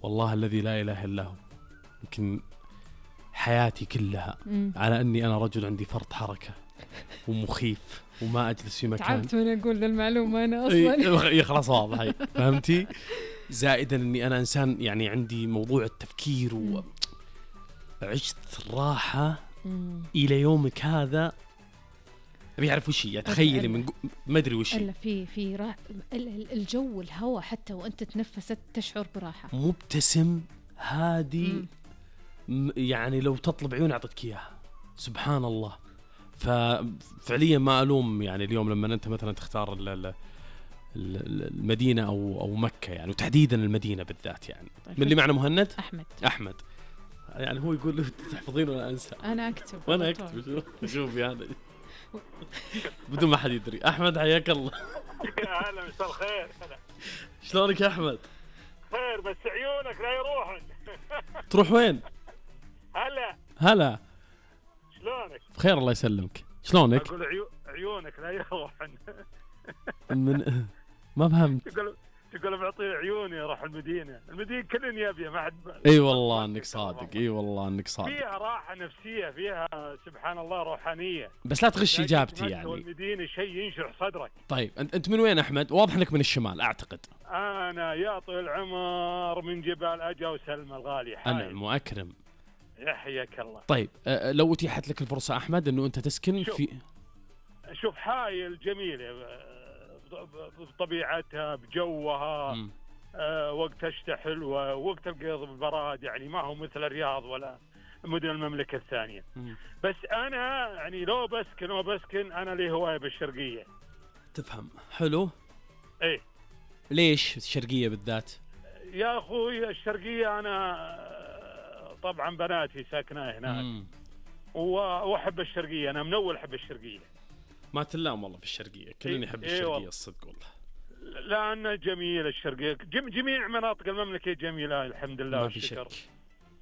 والله الذي لا إله إلا هو يمكن حياتي كلها على أني أنا رجل عندي فرط حركة ومخيف وما أجلس في مكان. تعبت من أقول ذا المعلومة أنا أصلا. خلاص واضح فهمتي. زائدا أني أنا إنسان يعني عندي موضوع التفكير وعشت راحة إلى يومك هذا. أبي أعرف وش هي، تخيلي من ما أدري وش هي. إلا في الجو الهواء حتى وأنت تنفست تشعر براحة. مبتسم هادي يعني لو تطلب عيون أعطتك إياها سبحان الله. ففعليا ما ألوم يعني اليوم لما أنت مثلا تختار المدينة أو مكة يعني، وتحديدا المدينة بالذات يعني. طيب من اللي معنا مهند أحمد يعني هو يقول تحفظين ولا أنسى. أنا أكتب وأنا أكتب. شوف يعني بدون ما حد يدري. أحمد حياك الله. أهلا مساء الخير. شلونك يا أحمد؟ خير بس عيونك لا يروحن. تروح وين؟ هلا شلونك؟ بخير الله يسلمك. شلونك؟ أقول عيونك لا يروحن. من ما فهمت. تقول بعطي عيوني اروح المدينه كلن يبي ما حد. اي والله انك صادق. اي والله انك صادق. فيها راحه نفسيه، فيها سبحان الله روحانيه، بس لا تغش اجابتي يعني. المدينه شيء ينشرح صدرك. طيب انت من وين احمد؟ واضح انك من الشمال اعتقد. انا يا طويل العمر من جبال اجا وسلمى الغالي. انعم واكرم. يحييك الله. طيب لو اتيحت لك الفرصه احمد انه انت تسكن شوف حايل جميله بطبيعتها بجوها. وقت اشتحل ووقت القيض بالبراد يعني ما هو مثل الرياض ولا مدن المملكة الثانية. بس أنا يعني لو بسكن أنا لي هواية بالشرقية. تفهم حلو. إيه ليش الشرقية بالذات يا أخوي؟ الشرقية أنا طبعا بناتي ساكنة هناك وأحب الشرقية. أنا من أول أحب الشرقية. ما تلام والله في الشرقية كلني يحب الشرقية الصدق والله. لأنه جميل الشرقية. جميع مناطق المملكة جميلة الحمد لله والشكر.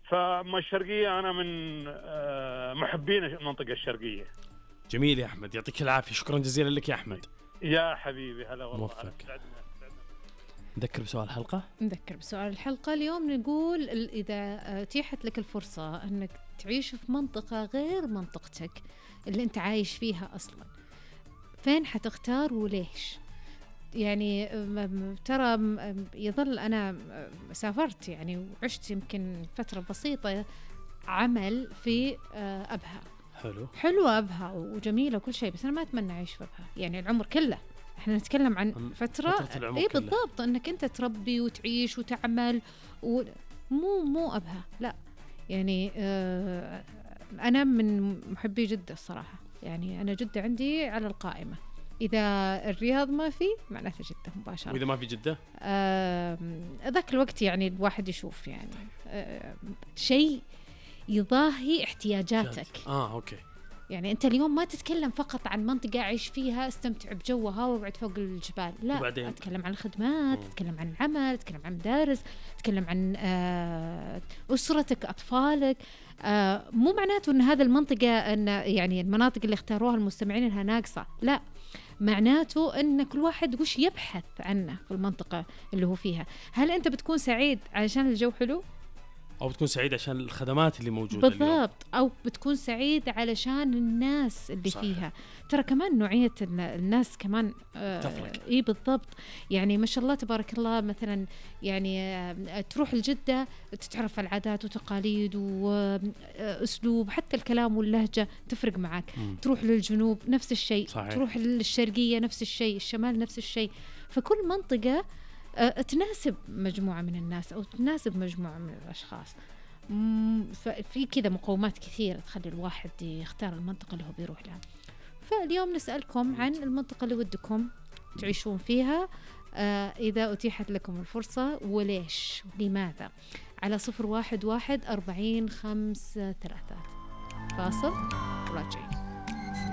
فما الشرقية أنا من محبين المنطقة الشرقية. جميل يا أحمد يعطيك العافية. شكرا جزيلا لك يا أحمد. يا حبيبي هلا والله. موفق. نذكر بسؤال الحلقة. نذكر بسؤال الحلقة اليوم نقول إذا أتيحت لك الفرصة أنك تعيش في منطقة غير منطقتك اللي أنت عايش فيها أصلاً، فين حتختار وليش؟ يعني ترى يظل أنا سافرت يعني وعشت يمكن فترة بسيطة عمل في أبها. حلوة أبها وجميلة وكل شيء، بس أنا ما أتمنى أعيش في أبها يعني العمر كله. احنا نتكلم عن فترة اي بالضبط انك انت تربي وتعيش وتعمل مو أبها لا يعني. انا من محبي جدة الصراحة يعني. انا جدة عندي على القائمة. اذا الرياض ما في معناته جدة مباشرة. واذا ما في جدة ذاك الوقت يعني الواحد يشوف يعني شيء يضاهي احتياجاتك. اوكي. يعني أنت اليوم ما تتكلم فقط عن منطقة أعيش فيها استمتع بجوها واقعد فوق الجبال، لا أتكلم عن الخدمات، أتكلم عن العمل، أتكلم عن مدارس، أتكلم عن أسرتك أطفالك. مو معناته أن هذا المنطقة أن يعني المناطق اللي اختاروها المستمعين إنها ناقصة، لا معناته أن كل واحد وش يبحث عنه في المنطقة اللي هو فيها. هل أنت بتكون سعيد علشان الجو حلو؟ أو بتكون سعيد عشان الخدمات اللي موجودة بالضبط اليوم. أو بتكون سعيد علشان الناس اللي صحيح. فيها. ترى كمان نوعية الناس كمان تفرق. إيه بالضبط. يعني ما شاء الله تبارك الله مثلا يعني تروح الجدة تتعرف على العادات وتقاليد وأسلوب حتى الكلام واللهجة تفرق معك. تروح للجنوب نفس الشيء صحيح. تروح للشرقية نفس الشيء، الشمال نفس الشيء. فكل منطقة تناسب مجموعة من الناس أو تناسب مجموعة من الأشخاص. ففي كذا مقومات كثيرة تخلي الواحد يختار المنطقة اللي هو بيروح لها. فاليوم نسألكم عن المنطقة اللي ودكم تعيشون فيها إذا أتيحت لكم الفرصة وليش لماذا، على 011-40-5-3. فاصل راجعين.